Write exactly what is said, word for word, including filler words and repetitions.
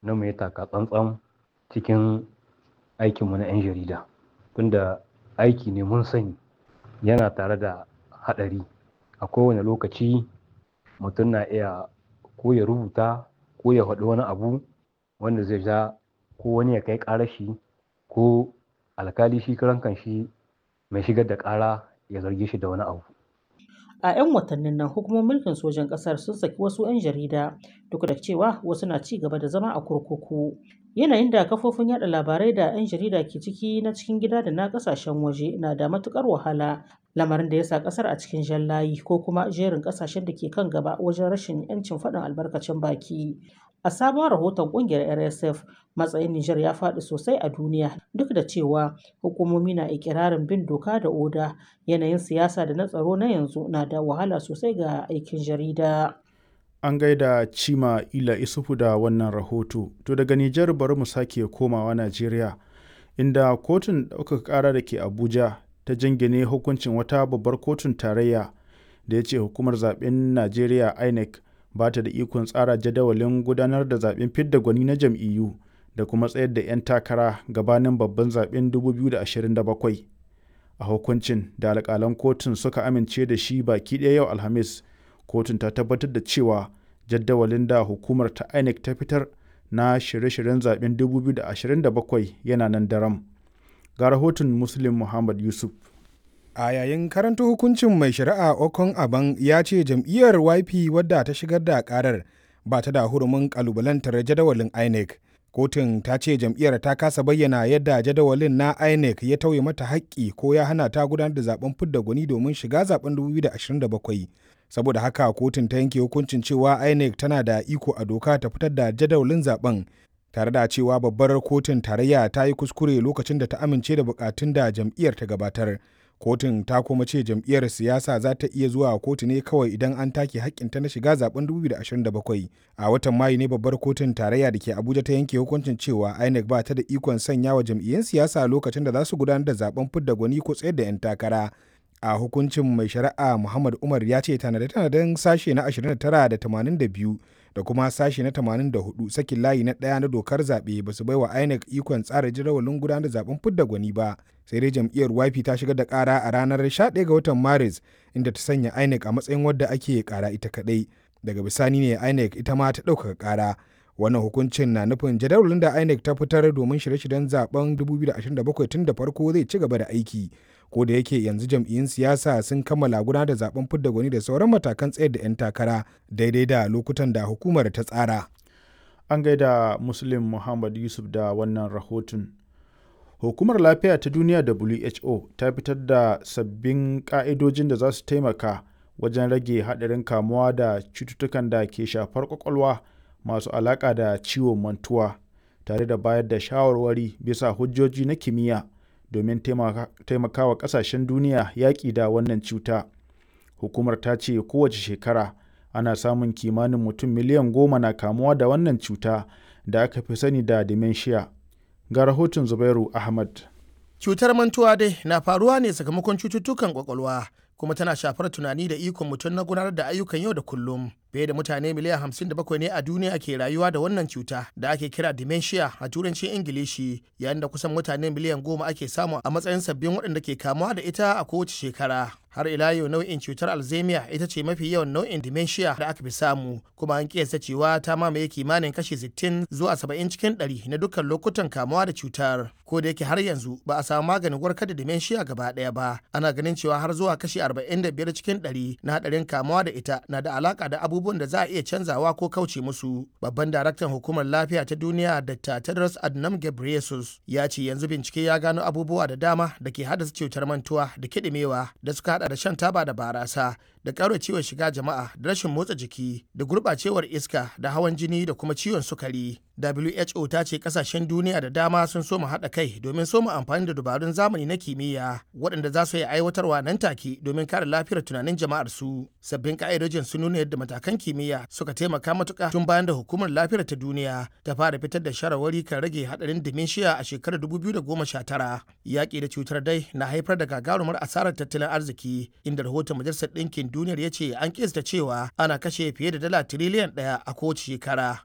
Na mu yi taka tsantsan cikin aikinmu na 'yan jarida. Tunda aiki ne mun sani yana tare da haɗari. A kowane lokaci mutum na iya ko ya rubuta ko ya faɗi wani abu wanda zai ja ko wani ya kai ƙarar shi ko alkali shi karan kanshi mai shigar da ƙara ya zarge shi da wani abu. A 'yan watannin nan, hukumomin mulkin sojan ƙasar sun saki wasu 'yan jarida, duk da cewa wasu na ci gaba da zama a kurkuku. Yanayin da kafofin yaɗa labarai da 'yan jarida ke ciki na cikin gida da na ƙasashen waje na da matuƙar wahala, lamarin da ya sa ƙasar a cikin jan layi ko kuma jerin ƙasashen da ke kan gaba wajen rashin 'yancin faɗin albarkacin baki. A sabon rahoton ƙungiyar R S F, matsayin Nijar ya faɗi sosai a duniya duk da cewa hukumomi na iƙirarin bin doka da oda. Yanayin siyasa da na tsaro na yanzu na da wahala sosai ga aikin jarida. An gaida Chima Ila Isufu da wannan rahoto. To daga Nijar bari mu sake komawa Najeriya, inda kotun ɗaukaka ƙara da ke Abuja ta jingine hukuncin wata babbar kotun tarayya da ya ce hukumar zaɓen Najeriya I N E C ba ta da ikon tsara jadawalin gudanar da zaɓen fidda gwani na jam'iyyu da kuma tsayar da 'yan takara gabanin babban zaɓen dubu biyu da ashirin da bakwai. A hukuncin da alƙalan kotun suka amince da shi baki ɗaya yau Alhamis, kotun ta tabbatar da cewa jadawalin da hukumar ta I N E C ta fitar na shirye-shiryen zaɓen dubu biyu da ashirin da bakwai yana nan daram. Ga rahoton Muslim Muhammad Yusuf. A yayin karanta hukuncin, mai shari'a Okon Aban ya ce jam'iyyar Y P wadda ta shigar da karar ba ta da hurumin kalubalantar jadawalin I N E C. Kotun ta ce jam'iyyar ta kasa bayyana yadda jadawalin na I N E C ya tauye mata haƙƙi ko ya hana ta gudanar da zaben fidda gwani domin shiga zaben dubu biyu da ashirin da bakwai. Saboda haka kotun ta yanke hukuncin cewa I N E C tana da iko a doka ta fitar da jadawalin zaben, tare da cewa babbar kotun tarayya ta yi kuskure lokacin da ta amince da bukatun da jam'iyyar ta gabatar. Kotun ta kuma ce jam'iyyar siyasa za ta iya zuwa kotu ne kawai idan an take hakkinta na shiga zaben dubu biyu da ashirin da bakwai. A watan Mayu ne babbar kotun tarayya da ke Abuja ta yanke hukuncin cewa I N E C ba ta da ikon sanya wa jam'iyyun siyasa lokacin da za su gudanar da zaben fidda gwani ko tsayar da 'yan takara. A hukuncin, mai shari'a Muhammad Umar ya ce tanade-tanaden sashe na ashirin da tara da tamanin da biyu da kuma sashe na tamanin da huɗu sakin layi na ɗaya na dokar zaɓe ba su baiwa I N E C ikon tsara jadawalin gudanar da zaben fidda gwani ba. Sai dai jam'iyyar Y P ta shigar da ƙara a ranar sha ɗaya ga watan Maris, inda ta sanya I N E C a matsayin wadda ake ƙara ita kaɗai. Daga bisani ne I N E C ita ma ta ɗaukaka ƙara. Wannan hukuncin na nufin jadawalin da I N E C ta fitar domin shirye-shiryen zaben dubu biyu da ashirin da bakwai tun da farko zai ci gaba da aiki, ko da yake yanzu jam'iyyun siyasa sun kammala gudanar da zaben fidda gwani da sauran matakan tsayar da 'yan takara daidai da lokutan da hukumar ta tsara. An gaida Muslim Muhammad Yusuf da wannan rahoton. Hukumar Lafiya ta Duniya W H O ta fitar da sabbin ƙa'idojin da za su taimaka wajen rage haɗarin kamuwa da cututtukan da ke shafar ƙwaƙwalwa masu alaƙa da ciwon mantuwa, tare da bayar da shawarwari bisa hujjoji na kimiyya domin taimakawa ƙasashen duniya yaƙi da wannan cuta. Hukumar ta ce kowace shekara ana samun kimanin mutum miliyan goma na kamuwa da wannan cuta da aka fi sani da dementia. Ga rahoton Zubairu Ahmad. Cutar mantuwa dai na faruwa ne sakamakon cututtukan kwakwalwa, kuma tana shafar tunani da ikon mutum na gudanar da ayyukan yau da kullum. Fiye da mutane miliyan hamsin da bakwai ne a duniya ke rayuwa da wannan cuta da ake kira dementia a turancin Ingilishi, yayin da kusan mutane miliyan goma ake samu a matsayin sabbin waɗanda ke kamuwa da ita a kowace shekara. Har ila yau, nau'in cutar Alzheimer ita ce mafi yawan nau'in dementia da aka fi samu, kuma an kiyasta cewa ta mamaye kimanin kashi sittin zuwa saba'in cikin ɗari na dukkan lokutan kamuwa da cutar. Ko da yake har yanzu ba a samu maganin warkar da dementia gaba ɗaya ba, ana ganin cewa har zuwa kashi arba'in da biyar cikin ɗari na haɗarin kamuwa da ita na da alaka da abubuwan da za a iya canzawa ko kauce musu. Babban daraktan Hukumar Lafiya ta Duniya, Doctor Tedros Adhanom Ghebreyesus, ya ce yanzu bincike ya gano abubuwa da dama da ke haddasa cutar mantuwa da kiɗimewa, da suka hada da shan taba da barasa da ƙara ciwon shiga jama'a da rashin motsa jiki da gurɓacewar iska da hawan jini da kuma ciwon sukari. W H O ta ce kasashen duniya da dama sun soma haɗa kai domin soma amfani da dabarun zamani na kimiyya waɗanda za su yi aiwatarwa nan take domin kare lafiyar tunanin jama'ar su. Sabbin ka'idojin sun nuna yadda matakan kimiyya suka taimaka matuƙa tun bayan da Hukumar Lafiyar ta Duniya ta fara fitar da shawarwari kan rage haɗarin dementia a shekarar dubu biyu da goma sha tara. Yaƙi da cutar dai na haifar da gagarumar asarar tattalin arziki, inda rahoton Majalisar Ɗinkin Duniyar ya ce an kista cewa ana kashe fiye da dala tiriliyan ɗaya a kowace shekara.